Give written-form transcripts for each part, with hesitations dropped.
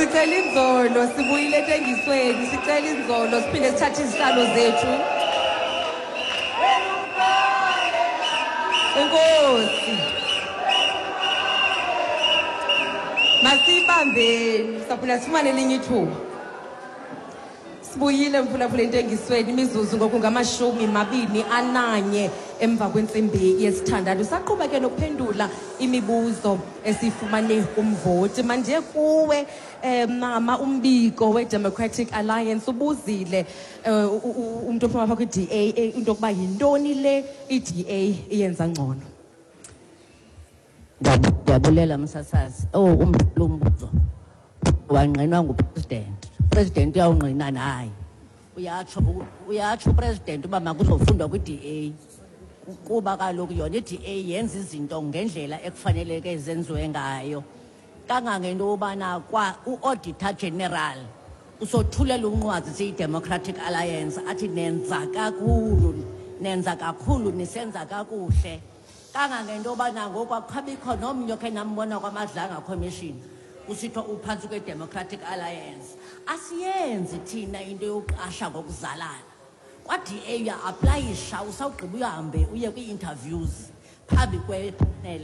Sicela inzolo, sibuyile entengisweni, sicela inzolo, siphinde sithathe izihlalo zethu. Enkosi. Masibambeni, saphinda sifumane elinye ithuba. Sibuyile mphulaphula entengisweni, imizuzu ngoku ngama-21 emva kwentsimbi yesithandathu. Saqhuba ke nokuphendula imibuzo esiyifumane kumvoti. Mandiye kuwe mama uMbiko we-Democratic Alliance. Ubuzile umntu ophuma apha kwi-DA into yokuba yintoni le i-DA iyenza ngcono. Ndiyabulela msasazi. Oh, lo mbuzo wangqinwa ngupresident. President uyawungqina naye. Uyatsho upresident uba makuzofundwa kwi-DA. Kuba kaloku yona i-DA yenza izinto ngendlela ekufaneleke zenziwe ngayo. Kangangento yobana kwa u-Auditor General usothulela unqwazi siyi-Democratic Alliance athi nenza kakhulu, nenza kakhulu, nisenza kakuhle. Kangangento yobana ngoku akukhabikho nomnye okhe nambona kwaMadlanga Commission kusithiwa uphantsi kwe-Democratic Alliance. Asiyenzi thina into yokuqasha ngokuzalana. Kwa-DA uya-aplayisha, usawugqiba uhambe uye kwii-interviews phambi kwepanel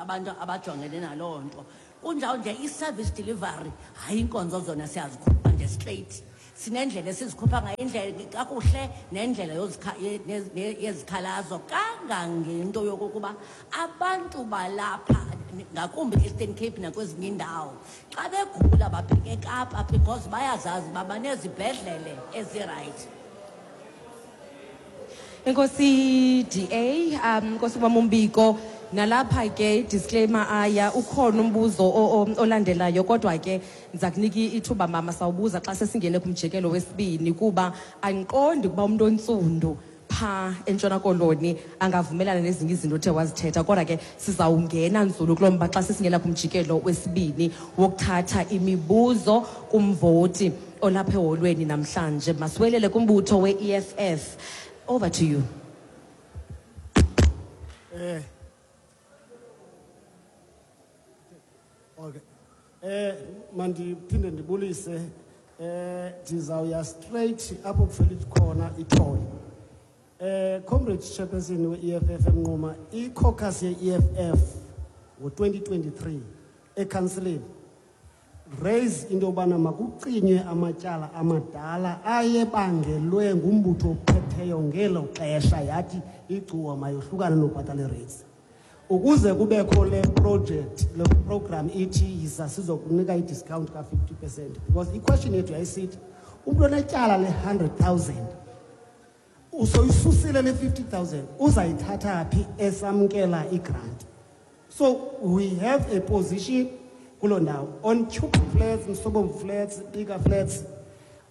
abantu abajongene naloo nto. Kunjalo nje i-service delivery, hayi iinkonzo zona siyazikhupha nje straight. Sinendlela esizikhupha ngayo, indlela kakuhle nendlela yezikhalazo, kangangento yokokuba abantu balapha ngakumbi e-Eastern Cape nakwezinye iindawo xa begula babheke eKapa because bayazazi uba banezibhedlele ezirayithi. Enkosi DA, Nkosi Mama Umbiko, nalapha ke disclaimer aya ukhona umbuzo olandelayo, kodwa ke ndiza kunika ithuba mama sawubuza xa sesingene kumjikelo wesibini, kuba andiqondi ukuba umuntu ontsundu pha eNtshona Koloni angavumelana nezinye izinto othe wazithetha, kodwa ke sizawungena nzulu kulo mba xa sesingena kumjikelo wesibini wokuthatha imibuzo kumvoti olapha eholweni namhlanje. Masiwelele kumbutho we-EFF. Over to you. Okay. Mandiphinde ndibulise, ndizawuya straight apho kuvela khona ithole. Comrade Chairperson we-EFF eMnquma, i-caucus ye-EFF ngo-2023 ekhansileni raise into yobana makucinywe amatyala amadala ayebangelwe ngumbutho ophetheyo ngelo xesha, yathi iGcuwa mayohlukane nobhatala ii-rates. Ukuze kubekho le project, le program ithi yiza sizokunika i-discount ka-50%, because i-question yethu yayisithi umntu onetyala le-100,000 usoyisusile le 50,000 uzayithatha phi esamkela i-grant. So we have a position kuloo ndawo. On Tube Flats, Msobomvu Flats, Bigger Flats,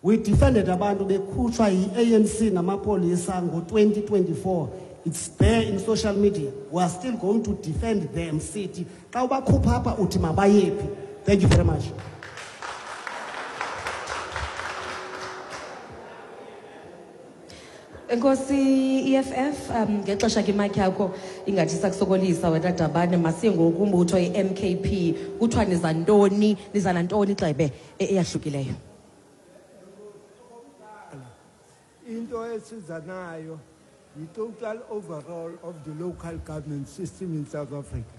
we defended abantu bekhutshwa yi-ANC namapolisa ngo-2024. It's there in social media. We are still going to defend them. Sithi xa ubakhupha apha uthi mabayephi. Thank you very much. Enkosi EFF, ngexesha ke mic yakho ingathi sakusokolisa wena Dabane. Masiye ngoku umbutho i-MKP. Kuthiwa niza ntoni, niza nantoni Xebe eyahlukileyo? Into esiza nayo yi-total overhaul of the local government system in South Africa.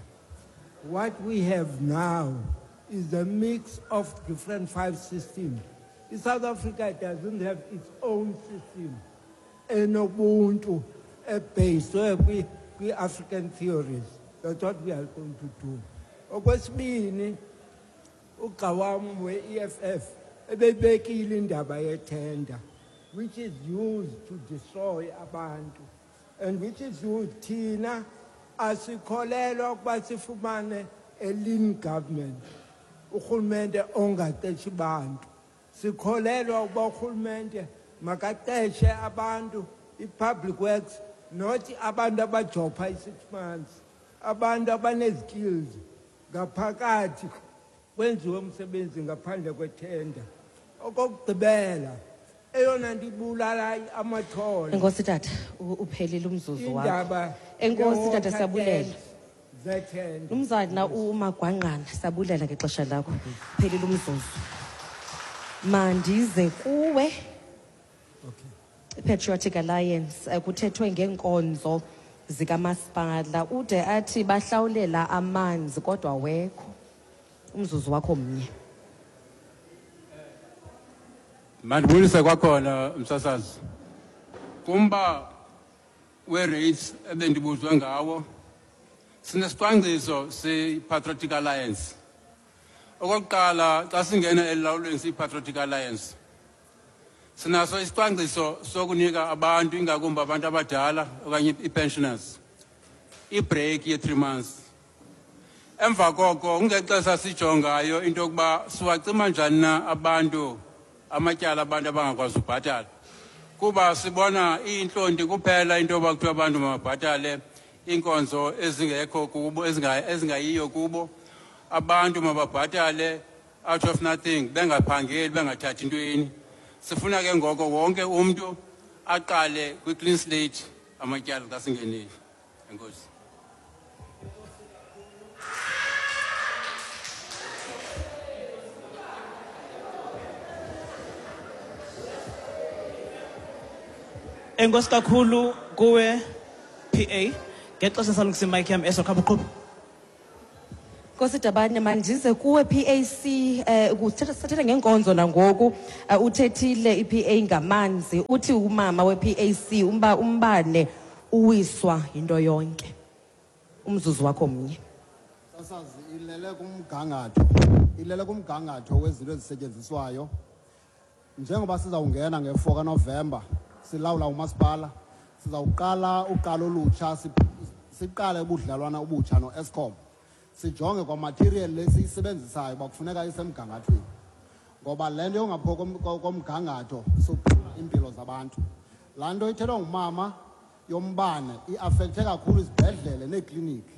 What we have now is a mix of different 5 systems. In South Africa doesn't have its own system. Enobuntu based kwi-African theories. That's what we are going to do. Okwesibini, ugxa wam we-EFF ebebekile indaba yethenda, which is used to destroy abantu, and which is used thina asikholelwa ukuba sifumane a lean government, urhulumente ongaqeshi bantu. Sikholelwa ukuba urhulumente makaqeshe abantu, i-public works, not abantu abajopha i-6 months, abantu abanezi-skills ngaphakathi kwenziwe umsebenzi ngaphandle kwethenda. Okokugqibela, eyona nto ibulala amathole. Enkosi tata, uphelile umzuzu wakho. Indaba Enkosi tata, ye-water siyabulela. tanks Zethenda. Mnumzana uMagwangqana, sabulela ngexesha lakho. Phelile umzuzu. Mandize kuwe. Okay. Patriotic Alliance, kuthethwe ngeenkonzo zikamasipala, ude athi bahlawulela amanzi kodwa wekho. Umzuzu wakho mnye. Mandibulise kwakhona, msasazi. Kumba we-rates ebendibuzwe ngawo, sinesicwangciso siyi-Patriotic Alliance. Okokuqala, xa singena elulawulweni siyi-Patriotic Alliance, sinaso isicwangciso sokunika abantu, ingakumbi abantu abadala okanye ii-pensioners, ibreak ye-3 months. Emva koko kungexesha sijongayo into yokuba siwacima njani na abantu amatyala abantu abangakwazi ubhatala, kuba sibona iyintlonti kuphela into yoba kuthiwa abantu mababhatale iinkonzo ezingekho kubo, ezingayiyo kubo. Abantu mababhatale out of nothing, bengaphangeli, bengathathi ntweni. Sifuna ke ngoko wonke umntu aqale kwi-clean slate amatyala xa singenile. Enkosi. Enkosi kakhulu kuwe PA ngexesha salungisa imic yam eso khapha uqhuba. Nkosi Dabane, mandize kuwe PAC, sathetha ngenkonzo nangoku, uthethile iPA ngamanzi, uthi umama we-PAC umbane uwiswa yinto yonke. Umzuzu wakho mnye. Sasazi ilele kumgangatho, ilele kumgangatho wezinto ezisetyenziswayo. Njengoba sizawungena nge-4 kaNovemba silawula umasipala, sizawuqala uqalo olutsha, siqale ubudlelwana obutsha no-Eskom. Sijonge kwa material lesiyisebenzisayo uba kufuneka isemgangathweni, ngoba le nto yongapho komgangatho sophula iimpilo zabantu. Laa nto ithethwa ngumama yombane iafekthe kakhulu izibhedlele neekliniki.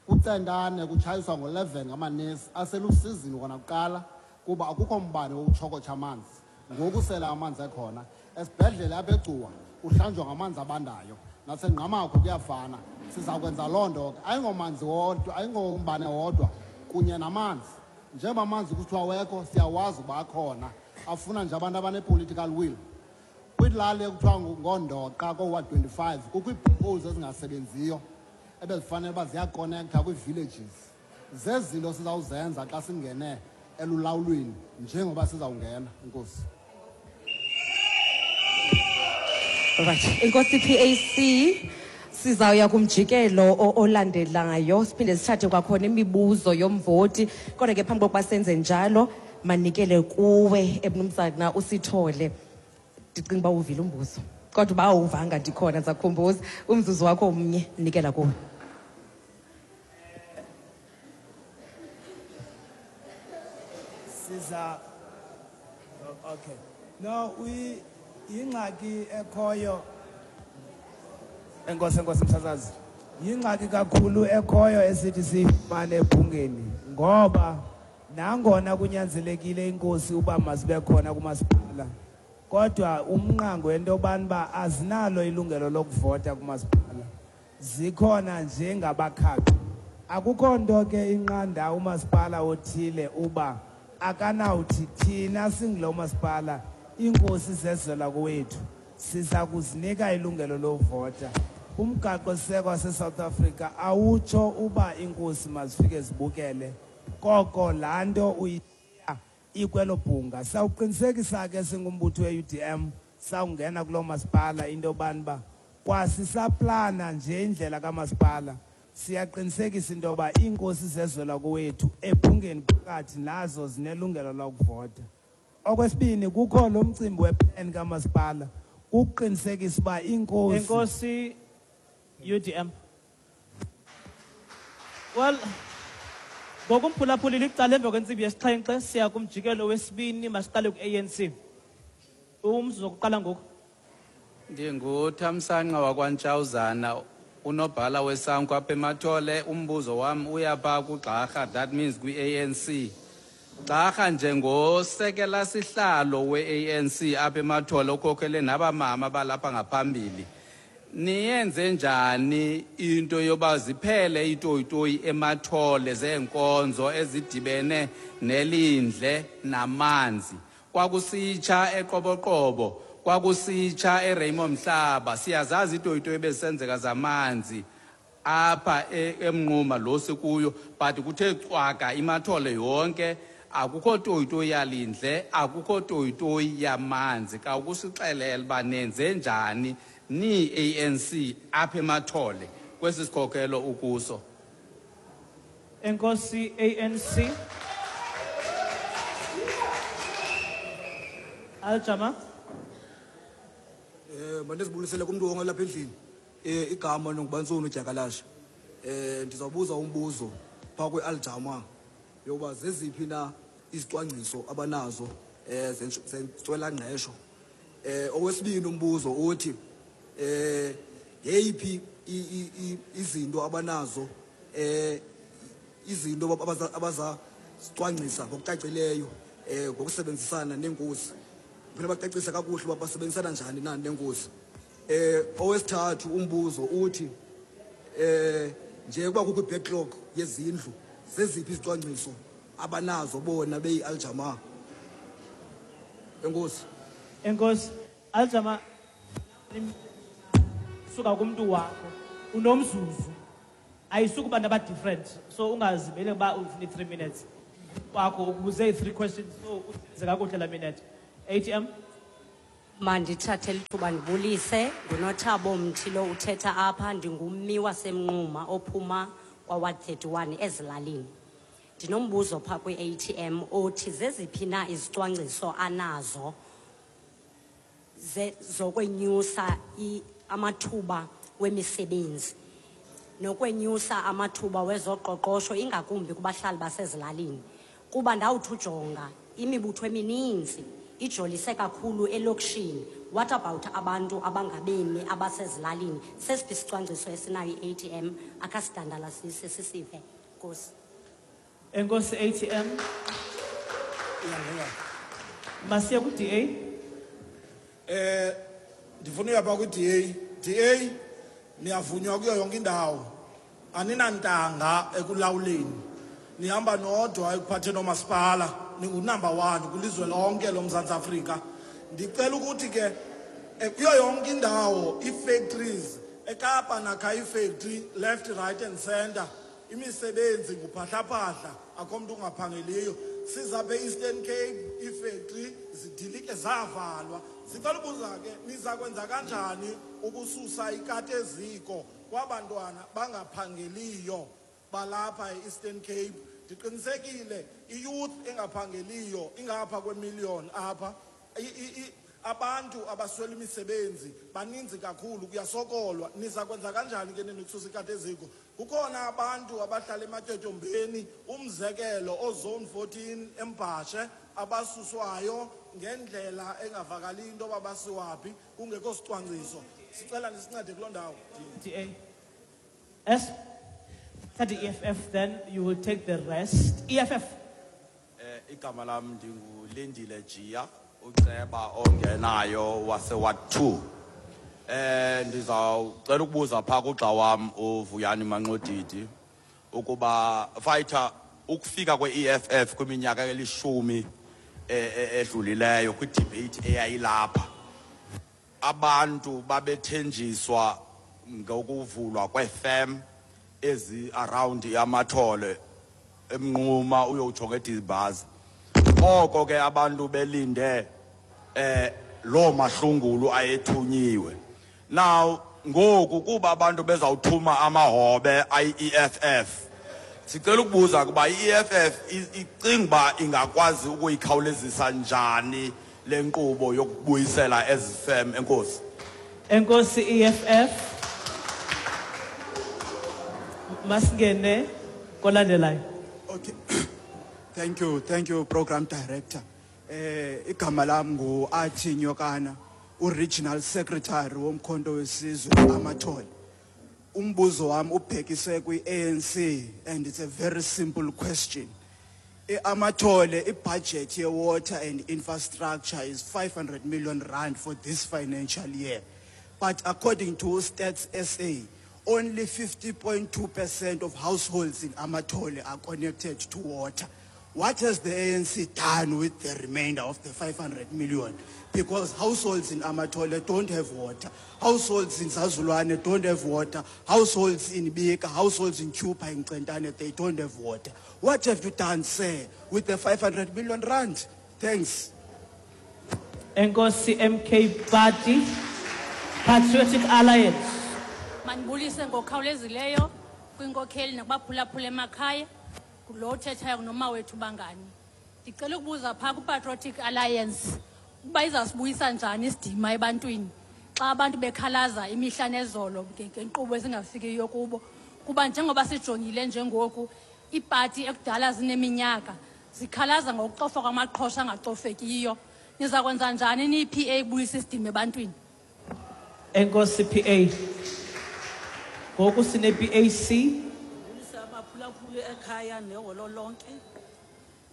Kucentane kutshayiswa ngo-11 ngamanesi aselusizini kona kuqala, kuba akukho mbane wokutshokotsha amanzi. Ngoku sele amanzi ekhona esibhedlele apha eGcuwa kuhlanjwa ngamanzi abandayo, naseNgqamakho kuyafana. Siza kwenza loo nto ke, ayingomanzi wodwa, ayingombane wodwa, kunye namanzi. Njengoba amanzi kuthiwa wekho, siyawazi uba akhona, afuna nje abantu abane-political will. Kwilali ekuthiwa ngoondoqa kooWard 25 kukho ii-boreholes ezingasebenziyo ebezifanele uba ziyakonektha kwii-villages. Zezinto sizawuzenza xa singene elulawulweni njengoba sizawungena. Enkosi. Right. Enkosi PAC, sizawuya kumjikelo olandelayo, siphinde sithathe kwakhona imibuzo yomvoti, kodwa ke phambi kokuba senze njalo manikele kuwe emnumzana uSithole. Ndicinga uba uvile umbuzo, kodwa uba awuvanga ndikhona ndizakukhumbuza. Umzuzu wakho mnye, nikela kuwe. Siza, okay. No, we ingxaki ekhoyo. Enkosi, enkosi msasazi. Yingxaki kakhulu ekhoyo esithi siyifumane ebhungeni, ngoba nangona kunyanzelekile inkosi uba mazibe khona kumasipala, kodwa umnqango wento yobani uba azinalo ilungelo lokuvota kumasipala, zikhona njengabakhaphi. Akukho nto ke inqanda umasipala othile uba akanawuthi thina singulo masipala, iinkosi zezela kowethu, siza kuzinika ilungelo lovota. Umgaqo-siseko wase-South Africa awutsho uba iinkosi mazifike zibukele, koko laa nto uyishiya ikwelo bhunga. Sawuqinisekisa ke singumbutho we-UDM sawungena kuloo masipala into yobani uba kwasisaplana nje indlela kamasipala, siyaqinisekisa into yoba iinkosi zezwela kowethu ebhungeni phakathi nazo zinelungelo lokuvota. Okwesibini, kukho lo mcimbi weplan kamasipala ukuqinisekisa uba iinkosi. Enkosi UDM. Well, ngokumphulaphulile icala emva kwentsimbi yesixhenxe siya kumjikelo wesibini, masiqale ku-ANC. Umzuzu wokuqala ngoku. NdinguThamsanqa wakwaNtshawuzana, unobhala weSANCO apha eMathole. Umbuzo wam uyapha kuGxarha, that means kwi-ANC. Gxarha, njengosekela sihlalo we-ANC apha eMathole, ukhokhele nabamama balapha ngaphambili. Niyenze njani into yoba ziphele itoyitoyi emathole zeenkonzo ezidibene nelindle namanzi? Kwakusitsha eQoboqobo, kwakusitsha eRaymond Mhlaba, siyazazi itoyitoyi ebezisenzeka zamanzi apha eMnquma lo sikuyo, but kuthe cwaka imathole yonke, akukho toyitoyi yalindle, akukho toyitoyi yamanzi. Khawukusixelela uba nenze njani ni-ANC apha emathole kwesi sikhokelo ukuso. Enkosi ANC. Aljama. Mandizibulisele kumntu wonke lapha endlini. Igama ndinguBantsoni uDyakalashe. Ndizawubuza umbuzo phaa kwi-Aljama yokuba zeziphi na izicwangciso abanazo zentswelangqesho. Owesibini umbuzo uthi ngeyiphi izinto abanazo, izinto abazazicwangcisa ngokucacileyo ngokusebenzisana neenkosi. Kufuneka bacacise kakuhle uba basebenzisana njani na neenkosi. Owesithathu umbuzo uthi nje kuba kukho i-backlog yezindlu, zeziphi izicwangciso abanazo bona beyi-Aljama? Enkosi. Enkosi. Aljama, suka kumntu wakho unomzuzu, ayisuki abantu aba-different, so ungazimele uba ufuna i-3 minutes wakho, ukubuze i-3 questions, so usebenze kakuhle la minute. ATM. Mandithathe lithuba ndibulise. Ngunothabo Mthi lo uthetha apha, ndingummi waseMnquma ophuma kwa-Ward 31 ezilalini. Ndinombuzo phaa kwi-ATM othi zeziphi na izicwangciso anazo zokwenyusa amathuba wemisebenzi nokwenyusa amathuba wezoqoqosho, ingakumbi kubahlali basezilalini, kuba ndawuthi ujonga imibutho emininzi ijolise kakhulu elokishini. What about abantu abangabemi abasezilalini? Sesiphi isicwangciso esinayo i-ATM? Akasidandalasise sisive. Nkosi. Enkosi ATM. Masiye ku-DA. Ndifuna uya phaa kwi-DA. DA niyavunywa kuyo yonke indawo. Aninantanga ekulawuleni. Nihamba nodwa ekuphatheni oomasipala, ningu-number 1 kwilizwe lonke loMzantsi Afrika. Ndicela ukuthi ke kuyo yonke indawo ii-factories, eKapa nakha ii-factory left, right and center. Imisebenzi nguphahlaphahla, akho mntu ungaphangeliyo. Sizapha e-Eastern Cape, ii-factory zidilike zavalwa. Sicela ubuza ke, niza kwenza kanjani ukususa ikati eziko kwabantwana bangaphangeliyo balapha e-Eastern Cape? Ndiqinisekile i-youth engaphangeliyo ingapha kwemillion apha. Abantu abaswela imisebenzi baninzi kakhulu, kuyasokolwa. Niza kwenza kanjani ke nini ukususa ikati eziko? Kukhona abantu abahlala ematyotyombeni, umzekelo oZone 14 eMbhashe, abasuswayo ngendlela engavakali into yoba basiwaphi, kungekho sicwangciso. Sicela nisincede kuloo ndawo. DA. S. Thatha i-EFF, then you will take the rest. EFF. Igama lam ndinguLindile Jiya, uceba ongenayo wase-Ward 2. Ndizawucela ukubuza phaa kugxa wam uVuyani Manxodidi ukuba fighter ukufika kwe-EFF kwiminyaka elishumi edlulileyo kwi-debate eyayilapha, abantu babethenjiswa ngokuvulwa kwee-firm ezi around Amathole, eMnquma uyotsho ngeDimbaza. Oko ke abantu belinde loo mahlungulu ayethunyiwe. Now ngoku kuba abantu bezawuthuma amahobe ayi-EFF, sicela ukubuza kuba i-EFF icinga uba ingakwazi ukuyikhawulezisa njani le nkqubo yokubuyisela ezi firm? Enkosi. Enkosi EFF. Masingene kolandelayo. Okay. Thank you, thank you Program Director. Igama lam ngu-Athi Nyokana, u-Regional Secretary woMkhonto weSizwe Amathole. Umbuzo wam ubhekise kwi-ANC and it's a very simple question. Amathole, i-budget ye-water and infrastructure is 500 million rand for this financial year. But according to Stats SA, only 50.2% of households in Amathole are connected to water. What has the ANC done with the remainder of the 500 million? Because households in Amathole don't have water. Households in Zazulwane don't have water. Households in Bika, households in Chupa, in Centane, they don't have water. What have you done, sir, with the 500 million rand? Thanks. Enkosi MK Party, Patriotic Alliance. Mandibulise ngokukhawulezileyo kwinkokheli nakubaphulaphula emakhaya, lo uthethayo nguNomawethu Bangani. Ndicela ukubuza phaa kwiPatriotic Alliance ukuba izawusibuyisa njani isidima ebantwini xa abantu bekhalaza imihla nezolo ngenkqubo ezingafikiyo kubo, kuba njengoba sijongile njengoku iipati ekudala zineminyaka zikhalaza ngokucofa kwamaqhosha angacofekiyo. Niza kwenza njani niyi-P A kubuyisa isidima ebantwini? Enkosi PA. Ngoku sine-P A C. Abaphulaphuli ekhaya neholo lonke.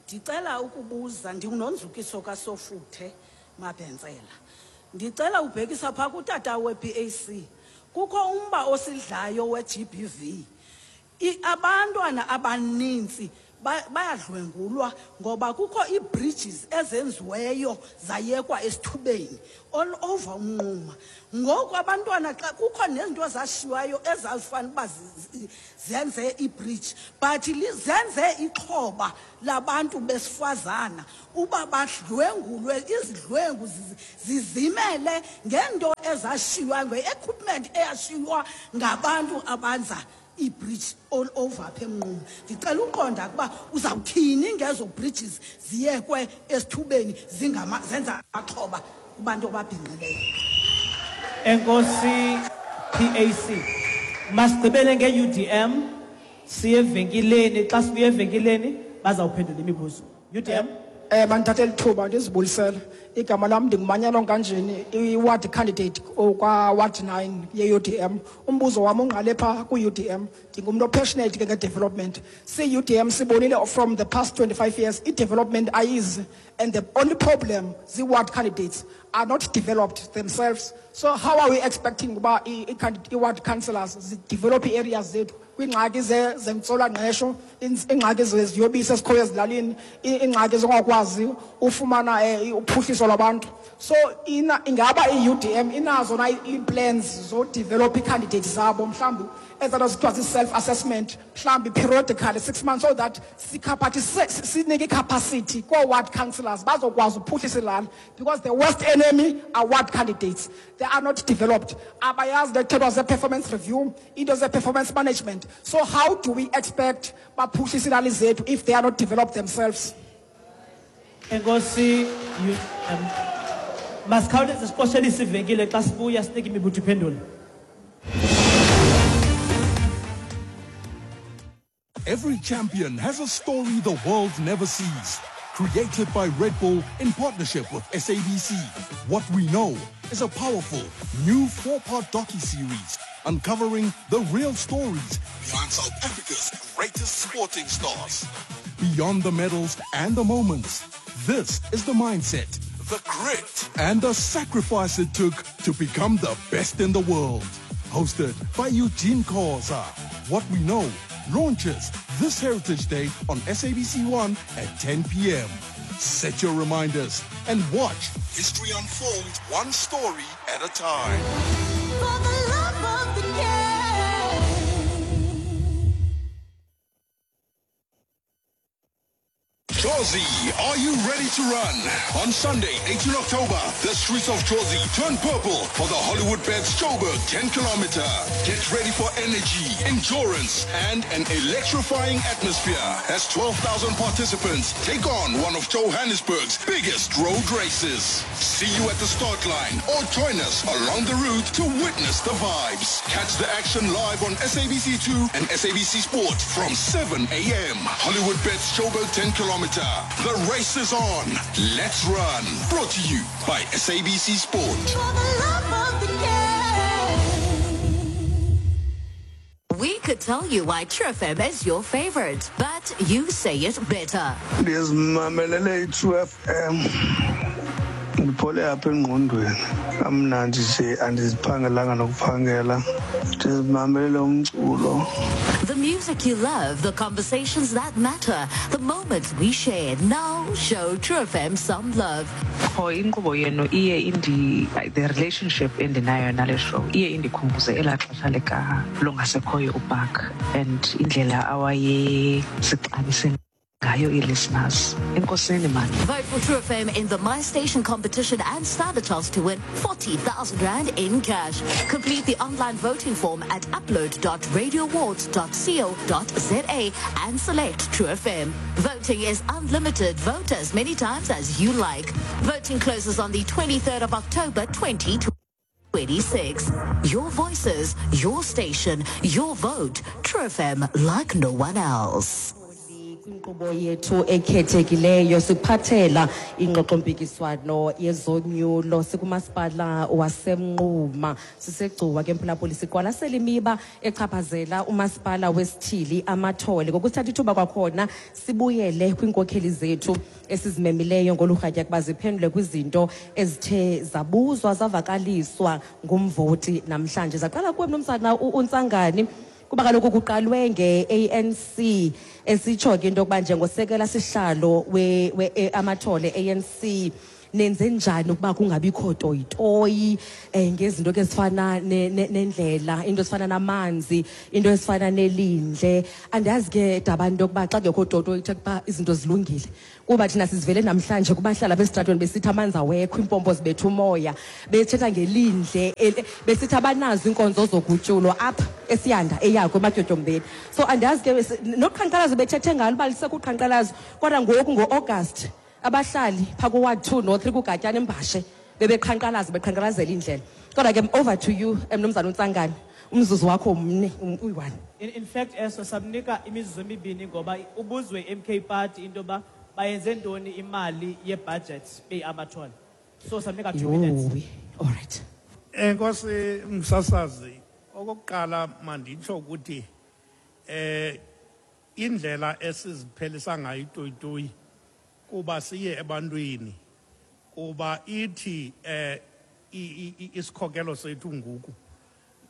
Ndicela ukubuza, ndinguNonzukiso kaSofuthe Mabhentsela. Ndicela ubhekisa phaa kutata we-PAC. Kukho umba osidlayo we-GBV. Abantwana abanintsi bayadlwengulwa ngoba kukho ii-bridges ezenziweyo zayekwa esithubeni all over uMnquma. Ngoku abantwana xa kukho nezinto ezashiywayo ezazifana uba zenze i-bridge, but zenze ixhoba labantu besifazana uba badlwengulwe, izidlwengu zizimele ngento ezashiywa, nge-equipment eyashiywa ngabantu abanza ii-bridge all over apha eMnquma. Ndicela uqonda ukuba uzawuthini ngezo bridges ziyekwe esithubeni zenza amaxhoba kubantu ababhinqileyo. Enkosi PAC. Masigqibele nge-UDM, siye evenkileni. Xa sibuya evenkileni bazawuphendula imibuzo. UDM. Bandithathe lithuba ndizibulisele. Igama lam ndinguManyano Nkanjeni, i-ward candidate kwa-ward 9 ye-UDM. Umbuzo wam ungqale phaa ku-UDM. Ndingumntu o-passionate ke nge-development. Si-UDM sibonile from the past 25 years i-development ayizi, and the only problem zii-ward candidates are not developed themselves. So how are we expecting uba i-ward councillors zidevelop ii-areas zethu kwiingxaki zentswelangqesho, iingxaki zeziyobisi ezikhoyo ezilalini, iingxaki zongakwazi ufumana uphuhliso lwabantu? So ingaba i-UDM inazo na ii-plans zodevelop ii-candidates zabo, mhlawumbi ezaa zithiwa zii-self-assessment, mhlawumbi periodically 6 months, so that sinike i-capacity koo-ward councillors bazokwazi uphuhlisa ilali? Because the worst enemy are ward candidates. They are not developed. Abayazi le kuthethwa zee-performance review, into zee-performance management. So how do we expect baphuhlise ilali zethu if they are not developed themselves? Enkosi UDM. Masikhawuleze siqoshelise ivenkile, xa sibuya sinike imibutho iphendule. Every champion has a story the world never sees. Created by Red Bull in partnership with SABC. What We Know is a powerful new 4-part docu-series uncovering the real stories behind South Africa's greatest sporting stars. Beyond the medals and the moments, this is the mindset, the grit, and the sacrifice it took to become the best in the world. Hosted by Eugene Khoza. What We Know launches this Heritage Day on SABC 1 at 10 p.m. Set your reminders and watch history unfold one story at a time. For the love of the game. Jozi, are you ready to run? On Sunday, 18 October, the streets of Jozi turn purple for the Hollywoodbets Joburg 10 kilometer. Get ready for energy, endurance, and an electrifying atmosphere as 12,000 participants take on one of Johannesburg's biggest road races. See you at the start line or join us along the route to witness the vibes. Catch the action live on SABC2 and SABC Sport from 7 a.m. Hollywoodbets Joburg 10 kilometer. The race is on. Let's run. Brought to you by SABC Sport. For the love of the game. We could tell you why True FM is your favorite, but you say it better. Ndizimamelele i-True FM. Ndiphole apha engqondweni kamnandi nje, andiziphangelanga nokuphangela, ndizimamelele umculo. The music you love, the conversations that matter, the moments we share. Now show True FM some love. Qho inkqubo yenu iye indi the relationship endinayo nale show iye indikhumbuze elaa xesha lika longasekhoyo uBark and indlela awayesixabise ngayo ii-listeners. Enkosini mani. Vote for True FM in the My Station competition and stand a chance to win 40,000 Rand in cash. Complete the online voting form at upload.radioawards.co.za and select True FM. Voting is unlimited. Vote as many times as you like. Voting closes on the 23rd of October 2026. Your voices, your station, your vote. True FM like no one else. Kwinkqubo yethu ekhethekileyo sikuphathela ingxoxompikiswano yezonyulo sikumasipala waseMnquma, siseGcuwa ke mphulaphuli, siqwalasela imiba echaphazela umasipala wesithili Amathole. Ngokusithatha ithuba kwakhona sibuyele kwiinkokheli zethu esizimemileyo ngolu rhatya kuba ziphendule kwizinto ezithe zabuzwa zavakaliswa ngumvoti namhlanje. Zaqala kuwe mnumzana uNtsangani, kuba kaloku kuqalwe nge-ANC, esitsho ke into yokuba njengosekela sihlalo we Amathole ANC nenze njani ukuba kungabikho toyitoyi ngezinto ke ezifana nendlela, into ezifana namanzi, into ezifana nelindle. Andiyazi ke dabani into yokuba xa kungekho toyitoyi kuthe ukuba izinto zilungile, kuba thina sizivele namhlanje kubahlali abesitratweni besithi amanzi awekho, iimpompo zibetha umoya, bethetha ngelindle, besithi abanazo iinkonzo zogutyulo apha esiyanda eyakho ematyotyombeni. So andiyazi ke noqhankqalazo bethethe ngalo uba lisekuqhankqalazo, kodwa ngoku ngo-August abahlali phaa kuward 2 no-3 kuGatyana eMbashe bebeqhankqalaza beqhankqalazela indlela. Kodwa ke over to you, mnumzana uNtsangane, umzuzu wakho mne, uyi-1. In fact, eso samnika imizuzu emibini ngoba ubuzwe i-MK Party into yoba bayenze ntoni imali ye-budget beyi-Amathole. So samnika 2 minutes. Yowi, all right. Enkosi msasazi, okokuqala manditsho ukuthi indlela esiziphelisa ngayo itoyitoyi kuba siye ebantwini, kuba ithi isikhokelo sethu ngoku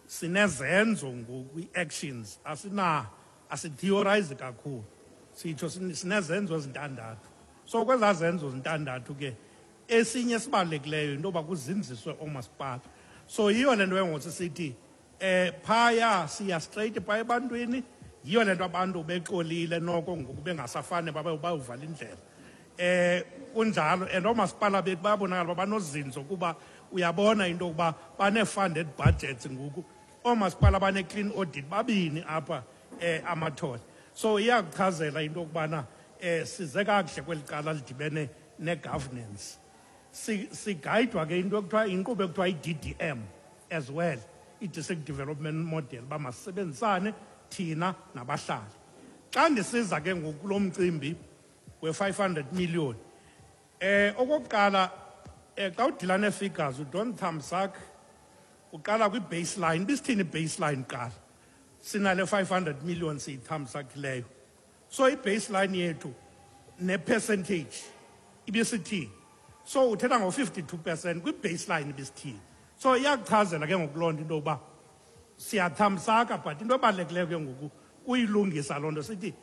sinezenzo ngoku, i-actions, asina asitheorize kakhulu, sitsho sinezenzo ezintandathu. So kwezaa zenzo zintandathu ke esinye esibalulekileyo into yoba kuzinziswe oomasipala. So yiyo le nto ke ngoku sithi phaya siya straight phaya ebantwini. Yiyo le nto abantu bexolile noko ngoku bengasafane babe bayuvala indlela. Kunjalo, and oomasipala bethu bayabonakala uba banozinzo, kuba uyabona into yokuba bane-funded budgets ngoku. Oomasipala bane-clean audit babini apha Amathole. So iyakuchazela into yokubana size kakuhle kweli cala lidibene ne-governance. Sigayidwa ke into ekuthiwa inkqubo ekuthiwa i-DDM as well, i-District Development Model, uba masisebenzisane thina nabahlali. Xa ndisiza ke ngoku kulo mcimbi we-500 million, okokuqala xa udila nee-figures you don't thumbsuck, uqala kwi-baseline. Bisithini i-baseline? Qala sinale 500 million siyithamsakileyo, so i-baseline yethu ne-percentage ibisithini? So uthetha ngo-52% kwi-baseline ibisithini? So iyakuchazela ke ngoku loo nto into yokuba siyathamsaka, but into ebalulekileyo ke ngoku kuyilungisa loo nto, sithi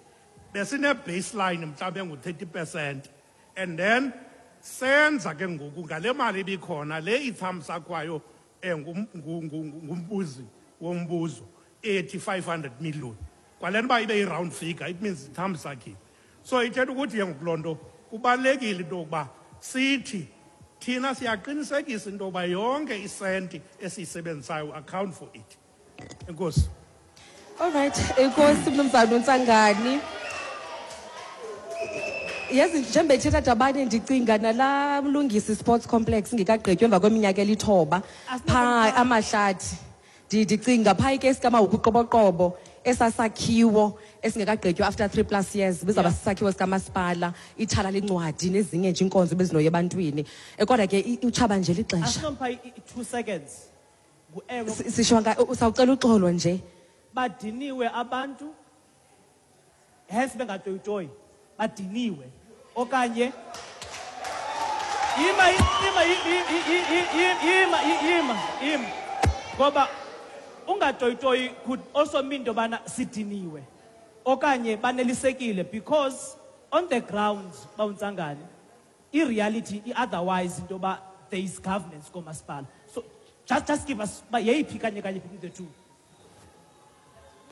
besine-baseline mhlawumbi engu-30% and then senza ke ngoku ngale mali ibikhona le ithamsakwayo ngumbuzi wombuzo ethi 500 million. Kwale nto uba ibe yi-round figure, it means ithamsakile. So ithetha ukuthi ke ngoku loo nto kubalulekile into yokuba sithi thina siyaqinisekisa into yokuba yonke isenti esiyisebenzisayo account for it. Enkosi. All right, enkosi mnumzana uNtsangani. Yazi njengoba ethetha Dabane, ndicinga nalaa Mlungisi Sports Complex ingekagqitywa emva kweminyaka elithoba phaa Amahlathi. Ndicinga phaa ikesi kaMahuku Qoboqobo, esasakhiwo esingekagqitywa after 3+ years, bizawuba sisakhiwo sikamasipala, ithala lencwadi nezinye nje iinkonzo bezinoya ebantwini. Kodwa ke utshaba nje lixesha. Asinompha i-2 seconds. Ngu-ewe. Sishwanga usawucela uxolo nje. Badiniwe abantu, hence bengatoyitoyi, badiniwe. Okanye Ima, ima, ima, ima, ima. Ngoba ungatoyitoyi could also mean into yobana sidiniwe okanye banelisekile, because on the ground, bawuntsangane, i-reality i-otherwise into yoba there is governance koomasipala. So just give us uba yeyiphi kanye kanye between the two.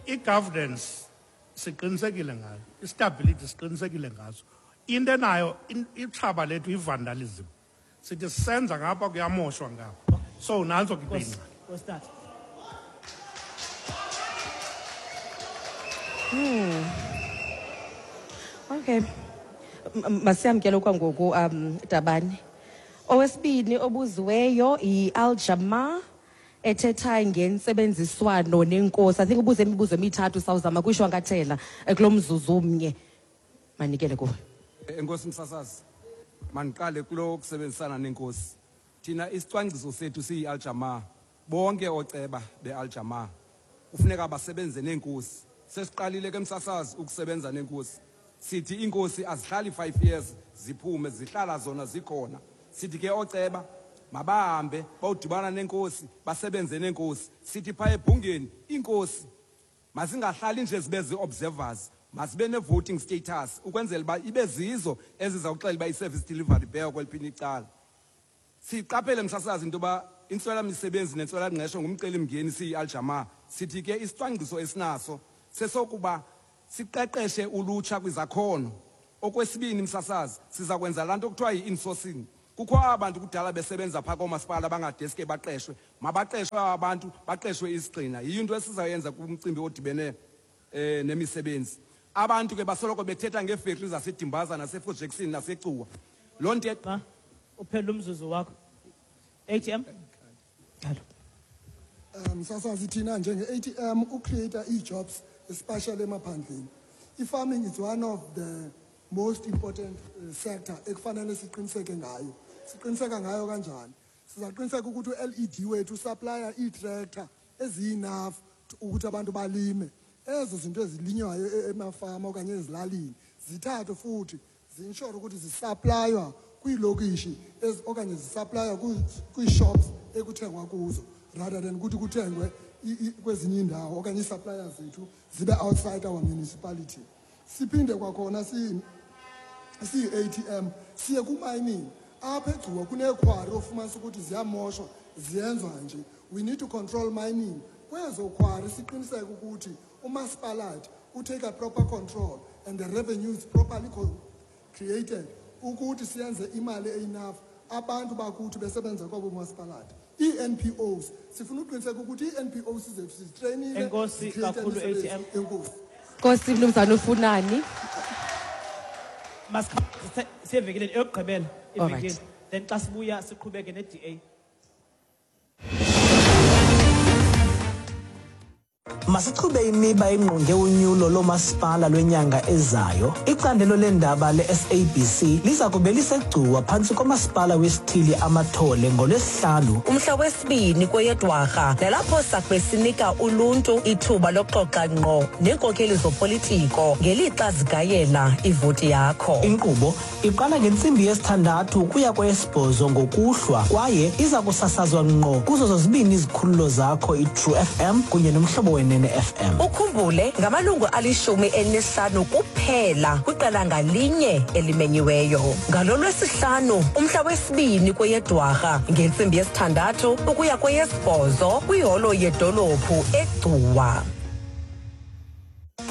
I-governance siqinisekile ngayo, i-stability siqinisekile ngazo. Into enayo itshaba lethu i-vandalism. Sithi sisenza ngapha, kuyamoshwa ngapha. So nantso ke Nkosi, ingxaki. Nkosi tata. Okay. Masiyamkele kwangoku, Dabani. Owesibini obuziweyo yi-Aljama ethetha ngentsebenziswano nenkosi. I think ubuze imibuzo emithathu, sawuzama kuyishwankathela kulo mzuzu umnye. Manikele kuwe. Enkosi msasazi. Mandiqale kulo kusebenzisana nenkosi. Thina isicwangciso sethu siyi-Aljama. Bonke ooceba be-Aljama kufuneka basebenze nenkosi. Sesiqalile ke msasazi ukusebenza nenkosi. Sithi inkosi azihlali 5 years ziphume, zihlala zona zikhona. Sithi ke ooceba mabahambe bawudibana nenkosi, basebenze nenkosi. Sithi phaa ebhungeni inkosi mazingahlali nje zibe zii-observers, mazibe ne-voting status ukwenzela uba ibe zizo ezizawuxela uba i-service delivery ibheka kweliphini icala. Siqaphele msasazi into yoba intswelamisebenzi nentswelangqesho ngumcelimngeni siyi-Aljama. Sithi ke isicwangciso esinaso sesokuba siqeqeshe ulutsha kwizakhono. Okwesibini msasazi, siza kwenza laa nto kuthiwa yi-insourcing. Kukho aba bantu kudala besebenza phaa koomasipala bangadeske baqeshwe. Mabaqeshwe aba bantu, baqeshwe isigxina. Yiyo into esizayenza kumcimbi odibene nemisebenzi. Abantu ke basoloko bethetha ngeefektri zaseDimbaza naseFort Jackson naseCuwa. Loo nto Ma, uphele umzuzu wakho. ATM? Msasazi, thina njenge-ATM ucreate ii-jobs especially emaphandleni. I-farming is one of the most important sector ekufanele siqiniseke ngayo. Siqiniseka ngayo kanjani? Sizaqiniseka ukuthi u-LED wethu usupplya ii-tractor eziyi-enough ukuthi abantu balime. Ezo zinto ezilinywayo emafama okanye ezilalini zithathwe futhi zi-ensure ukuthi zisuplaywa kwiilokishi okanye zisuplaywa kwii-shops ekuthengwa kuzo, rather than ukuthi kuthengwe kwezinye iindawo okanye ii-suppliers zethu zibe outside our municipality. Siphinde kwakhona siyi-ATM siye ku-mining. Apha eGcuwa kuneekhwari ofumanisa ukuthi ziyamoshwa, ziyenzwa nje. We need to control mining. Kwezo khwari siqiniseke ukuthi umasipalathi utake a proper control and the revenue is properly created ukuthi siyenze imali enough abantu bakuthi besebenza kwabo masipalathi. Ii-N P Os, sifuna uqiniseka ukuthi ii-N P Os zethu sizitrainile, Enkosi zicreate kakhulu, imisebenzi. ATM. Enkosi. Nkosi mnumzana uFunani. Masikhawuleze siye evenkileni eyokugqibela All right. evenkileni. Then xa sibuya siqhubeke ne-DA. Masichube imiba engqonge unyulo lomasipala lwenyanga ezayo. Icandelo leendaba le-SABC liza kube liseGcuwa phantsi komasipala wesithili Amathole ngoLwesihlanu. Umhla wesibini kweyeDwarha, nalapho sakube sinika uluntu ithuba lokuxoxa ngqo neenkokheli zopolitiko ngelixa zigayela ivoti yakho. Inkqubo iqala ngentsimbi yesithandathu ukuya kweyesibhozo ngokuhlwa kwaye iza kusasazwa ngqo kuzo zozibini izikhululo zakho, iTrue FM kunye noMhlobo Wenene FM. Ukhumbule ngamalungu 15 kuphela kwiqela ngalinye elimenyiweyo. Ngalo Lwesihlanu umhla wesibini kweyeDwarha ngentsimbi yesithandathu ukuya kweyesibhozo kwiholo yedolophu eGcuwa.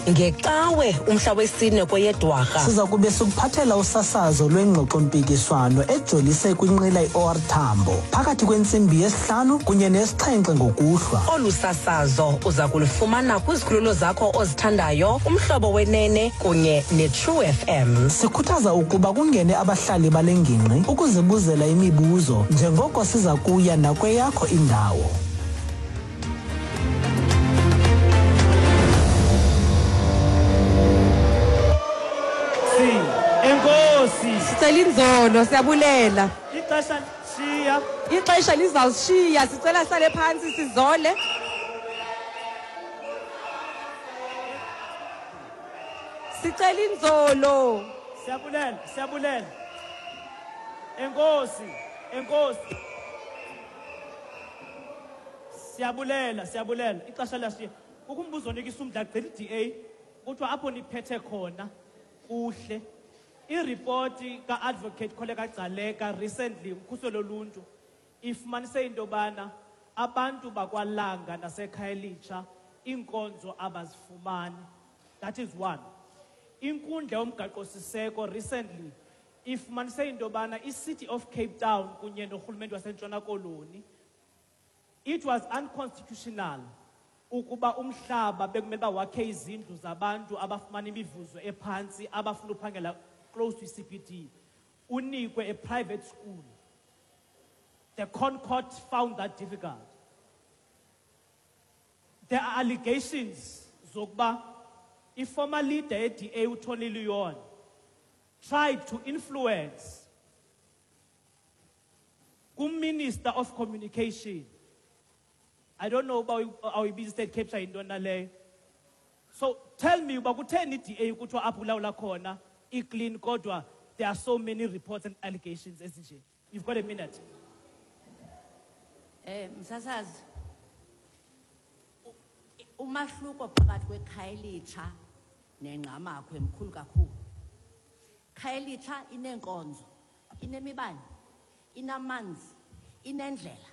Ngecawe umhla wesine kweyeDwarha siza kube sikuphathela usasazo lwengxoxo-mpikiswano ejolise kwinqila i-OR Tambo phakathi kwentsimbi yesihlanu kunye nesixhenxe ngokuhlwa. Olu sasazo uza kulufumana kwizikhululo zakho ozithandayo, Umhlobo Wenene kunye neTrue FM. Sikhuthaza ukuba kungene abahlali bale ngingqi ukuzibuzela imibuzo njengoko siza kuya nakweyakho indawo. Enkosi. Sicela inzolo, siyabulela. Ixesha lishiya. Ixesha lizawushiya, sicela sale phantsi sizole. Sicela inzolo. Siyabulela, siyabulela. Enkosi, enkosi. Siyabulela, siyabulela. Ixesha lashiya. Kukho umbuzo onikisa umdla gqitha i-DA, kuthiwa apho niphethe khona kuhle. Iripoti ka-Advocate Kholeka Gcaleka recently ukhuselo loluntu ifumanise into yobana abantu bakwaLanga naseKhayelitsha iinkonzo abazifumani. That is one. Inkundla yomgaqo-siseko recently ifumanise into yobana i-City of Cape Town kunye norhulumente waseNtshona Koloni, it was unconstitutional ukuba umhlaba bekumele uba wakhe izindlu zabantu abafumana imivuzo ephantsi abafuna uphangela close to i-CBD unikwe a private school. The ConCourt found that difficult. There are allegations zokuba i-former leader ye-DA uTony Leon tried to influence ku-Minister of Communication. I don't know uba awuyibiza state capture yintoni na leyo. So tell me uba kutheni i-DA kuthiwa apho ulawula khona i-clean kodwa there are so many reports and allegations ezinje. You've got a minute. Msasazi, umahluko phakathi kweKhayelitsha neNgqamakhwe mkhulu kakhulu. Khayelitsha ineenkonzo, inemibane, inamanzi, inendlela.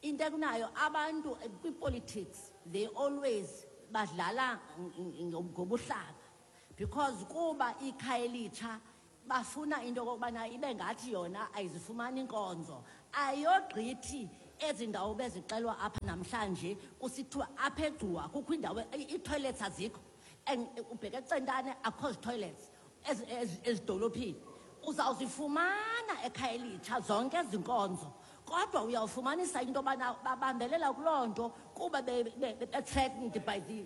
Into ekunayo abantu kwi-politics, they always badlala ngobuhlanga because kuba iKhayelitsha bafuna into okokubana ibe ngathi yona ayizifumani inkonzo. Ayogqithi ezi ndawo bezixelwa apha namhlanje kusithiwa apha eGcuwa kukho indawo ii-toilets azikho, and ubheke eCentane akho zi-toilets ezidolophini. Uzawuzifumana eKhayelitsha zonke ezi nkonzo, kodwa uyawufumanisa into yobana babambelela kuloo nto kuba be-threatened by the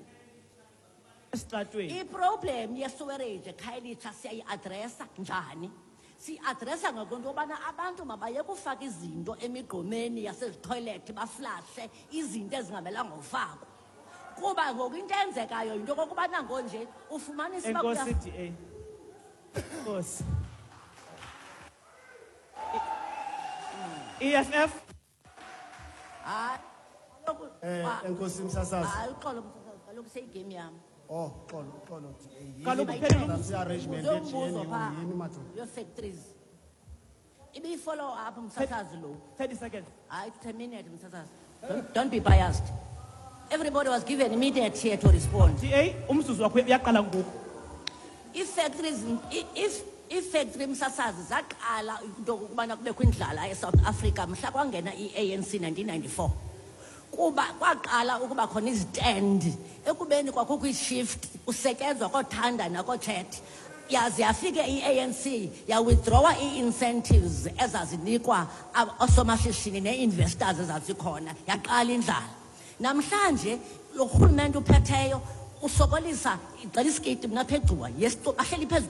Esitratweni. I-problem ye-sewerage eKhayelitsha siyayi-adresa njani? Siyi-adresa ngokwento yobana abantu mabaye kufaka izinto emigqomeni yasezithoyilethi, baflashe izinto ezingamelanga ufakwa. Kuba ngoku into eyenzekayo yinto okokubana ngonje ufumanisa uba Enkosi, DA. Enkosi. EFF? Hayi, kaloku, Enkosi msasazi. Hayi, uxolo msasazi, kaloku seyigame yam. Oh, uxolo, uxolo. Kaloku Yini kuphelile umbuzo. Arrangement Uzombuzo ye-G N U, phaa. yini madoda? Your factories. Ibiyi-follow up msasazi lo. 30 seconds. Hayi, it's a minute msasazi. Don't be biased. Everybody was given immediate here to respond. DA, umzuzu wakho uyaqala ngoku. Ii-factories, if ii-factory msasazi zaqala into yokubana kubekho indlala eSouth Africa mhla kwangena i-ANC 1994. Kuba kwaqala ukuba khona izitendi ekubeni kwakukho i-shift kusetyenzwa koothanda nakootshet. Yaze yafike i-ANC yawithdrawa ii-incentives ezazinikwa oosomashishini nee-investors ezazikhona, yaqala indlala. Namhlanje lo rhulumente uphetheyo usokolisa igcela isikiti mna apha eGcuwa. Yes, bahleli phezu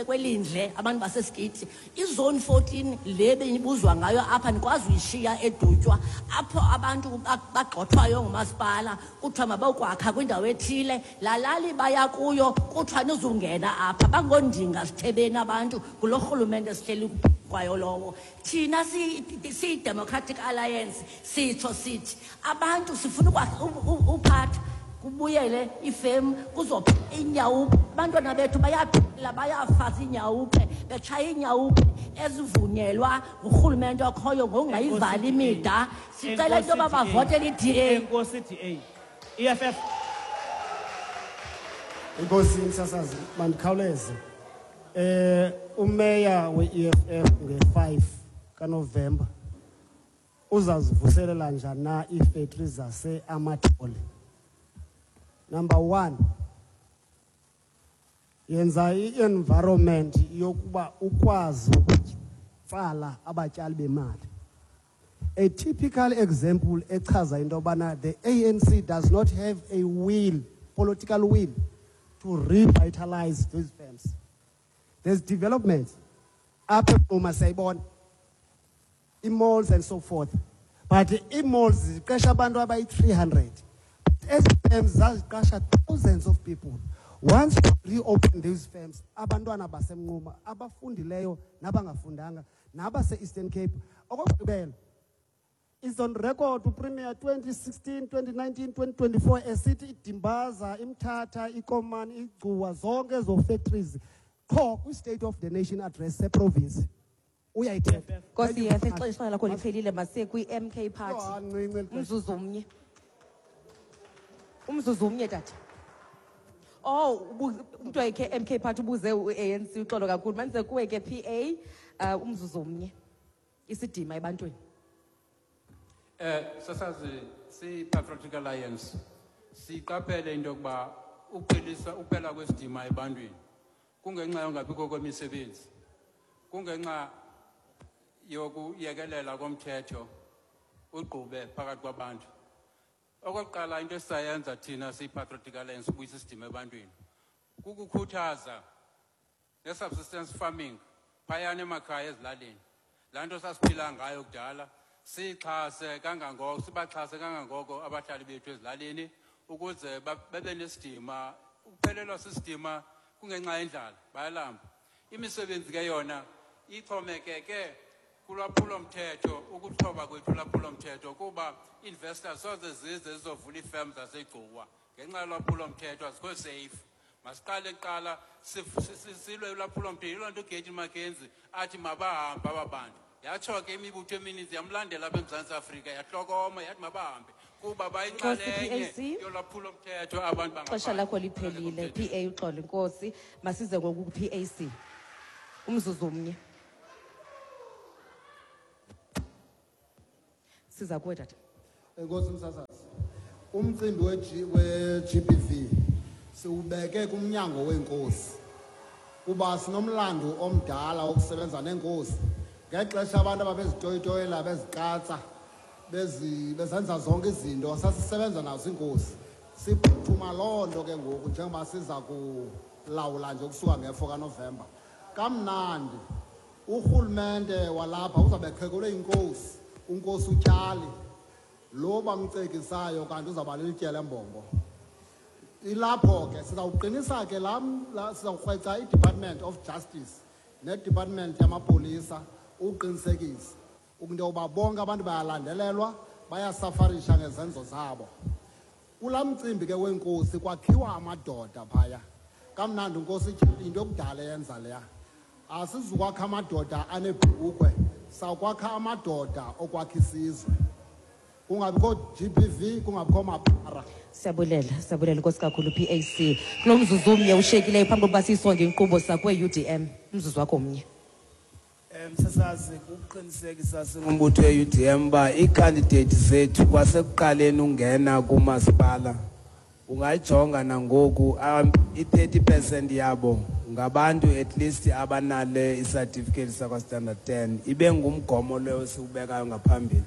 kwelindle abantu basesikiti. I-zone 14 le benibuzwa ngayo apha nikwazi uyishiya eDutywa, apho abantu bagxothwayo ngumasipala kuthiwa mabokwakha kwindawo ethile, laa lali baya kuyo kuthiwa nizungena apha. Bangondinga sithebeni abantu ngulo rhulumente esihleli kwayo lowo. Thina siyi-Democratic Alliance sitsho sithi abantu sifuna uphatha kubuyele ifemu, kuzopha inyawupe. Abantwana bethu bayaphila, bayafaza inyawupe, betshaya inyawupe ezivunyelwa ngurhulumente okhoyo ngokungayivali imida. Sicela into yoba bavotele i-DA. Enkosi DA. EFF. Enkosi msasazi, mandikhawuleze. Umeya we-EFF nge-5 kaNovemba uzazivuselela njani na iifektri zaseAmathole? Number 1, yenza i-environment yokuba ukwazi ukutsala abatyali bemali. A typical example echaza into yobana the ANC does not have a will, political will, to revitalize these firms. There's development. Apha eMpuma siyayibona, ii-malls and so forth. But ii-malls ziqesha abantu abayi-300. Ezi firms zaziqasha thousands of people. Once you reopen these firms, abantwana baseMnquma abafundileyo nabangafundanga nabase-Eastern Cape. Okokugqibela, is on record uPremier 2016, 2019, 2024 esithi iDimbaza, iMthatha, iKomani, iGcuwa, zonke ezo factories qho kwi-State of the Nation address seprovince. Uyayithetha. Nkosi yefe, ixesha lakho liphelile, masiye kwi-MK Party. Yho, ancinci eli xesha. Umzuzu omnye. Umzuzu omnye, tata. Oh, umntu wayekhe MK Party ubuze u-ANC, uxolo kakhulu. Mandize kuwe ke PA, umzuzu omnye. Isidima ebantwini. Sasazi si-Patriotic Alliance siqaphele into yokuba uphela kwesidima ebantwini kungenxa yongabikho kwemisebenzi, kungenxa yokuyekelela komthetho ugqube phakathi kwabantu. Okokuqala into esisayenza thina siyi-Patriotic Alliance ubuyisa isidima ebantwini kukukhuthaza ne-subsistence farming phayana emakhaya ezilalini. Laa nto sasiphila ngayo kudala sixhase kangangoko, sibaxhase kangangoko abahlali bethu ezilalini ukuze babe nesidima. Ukuphelelwa sisidima kungenxa yendlala, bayalamba. Imisebenzi ke yona ixhomekeke kulwaphulomthetho, ukuthoba kwethu ulwaphulomthetho, kuba investors soze zize zizovula iifem zaseGcuwa ngenxa yolwaphulomthetho, azikho safe. Masiqale kuqala silwe ulwaphulomthetho. Yiloo nto uGayton McKenzie athi mabahambe aba bantu. Yatsho ke imibutho emininzi yamlandela apha eMzantsi Afrika, yahlokoma yathi mabahambe kuba bayinxalenye Nkosi, PAC. yolwaphulomthetho abantu Ixesha lakho liphelile, PA, uxolo inkosi. Masize ngoku ku-PAC. Umzuzu omnye. Siza kuwe, tata. Enkosi msasazi. Umcimbi we-GBV siwubeke kumnyango weenkosi kuba sinomlando omdala wokusebenza neenkosi. Ngexesha abantu ababezitoyitoyela, beziqatsa, bezenza zonke izinto, sasisebenza nazo iinkosi. Siphuthuma loo nto ke ngoku njengoba siza kulawula nje ukusuka nge-4 kaNovemba. Kamnandi urhulumente walapha uzawube eqhekelwe yinkosi, unkosi uTyali, lo bamcekisayo kanti uzawuba lilitye lembombo. Ilapho ke sizawuqinisa ke laa la, sizawukrweca iDepartment of Justice neDepartment yamapolisa uqinisekisa into yokuba bonke abantu bayalandelelwa, bayasafarisha ngezenzo zabo. Kulaa mcimbi ke wenkosi kwakhiwa amadoda phaya. Kamnandi unkosi Tyali into yokudala eyenza leya. Asizukwakha amadoda anebhulukhwe, sawukwakha amadoda okwakha isizwe. Kungabikho GBV, kungabikho mapara. Siyabulela, siyabulela inkosi kakhulu PAC. Kulo mzuzu omnye ushiyekileyo phambi kokuba siyisonge inkqubo sakwe-UDM. Umzuzu wakho omnye. Msasazi, kuqinisekisa singumbutho we-UDM uba iikhandideyiti zethu kwasekuqaleni ungena kumasipala ungayijonga nangoku, i-30% yabo ngabantu at least abanale isatifiketi sakwa-standard 10, ibe ngumgomo loyo siwubekayo ngaphambili.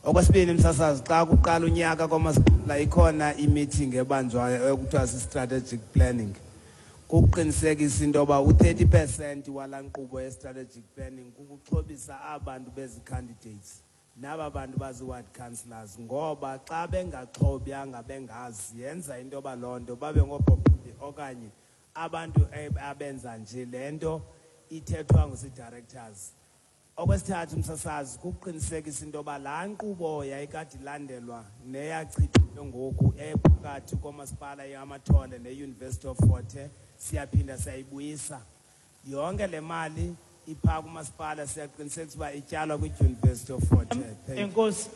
Okwesibini msasazi, xa kuqala unyaka kwamasipala ikhona i-meeting ebanjwayo ekuthiwa si-strategic planning, kuqinisekisa into yoba u-30% walaa nkqubo ye-strategic planning kukuxhobisa abantu bezi-candidates naba bantu bazi-ward councillors, ngoba xa bengaxhobyanga bengazi yenza into yoba loo nto babe ngoobhobhi okanye abantu abenza nje le nto ithethwa ngusi-directors. Okwesithathu msasazi, kuqinisekisa into yoba laa nkqubo yayikade ilandelwa neyachithiwe ngoku ephakathi komasipala iAmathole ne-University of Fort Hare, siyaphinda siyayibuyisa. Yonke le mali iphaa kumasipala, siyaqinisekisa uba ityalwa kwi-University of Fort Hare. Thank you. Enkosi.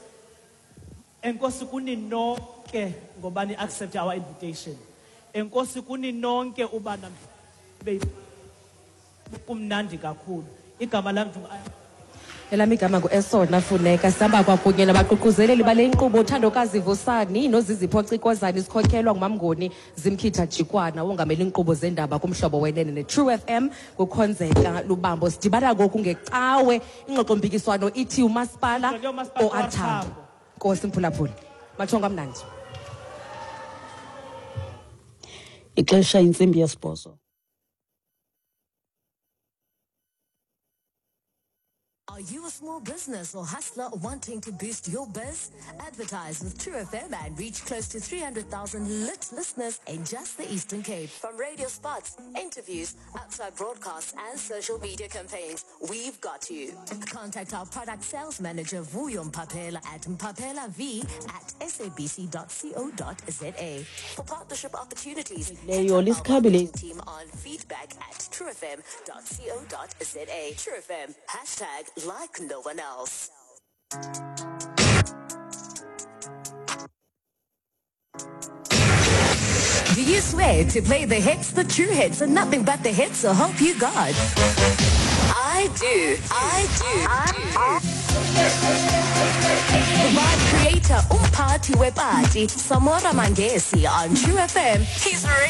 Enkosi kuni nonke ngoba ni-accept our invitation. Enkosi kuni nonke uba namhlanje kumnandi kakhulu. Igama lam ndingu Elam igama ngu-Esona Funeka. Sihamba kwakunye nabaququzeleli bale nkqubo uThandokazi Vusani noZizipho Cikozane, sikhokhelwa nguMamngoni Zimkhitha Jikwana, wongamela iinkqubo zendaba kumhlobo wenene ne-True FM kukhonzeka Lubambo. Sidibana ngoku ngecawe, ingxoxompikiswano ithi umasipala Ngxoxo yomasipala OR Tambo. Tambo. Nkosi mphulaphuli, mathongo amnandi. Ixesha intsimbi yesibhozo. Are you a small business or hustler wanting to boost your biz? Advertise with True FM and reach close to 300,000 lit listeners in just the Eastern Cape. From radio spots, interviews, outside broadcasts, and social media campaigns, we've got you. Contact our product sales manager, Vuyo Mpapela, at mpapelav@sabc.co.za. For partnership opportunities, Leyo lisikhabile. team on feedback@truefm.co.za. True FM, hashtag like no one else. Do you swear to play the hits, the true hits, and nothing but the hits, so help you God? I do. I do. I do. The vibe creator, umphathi wepati, Samora Mangesi on True FM. He's ready.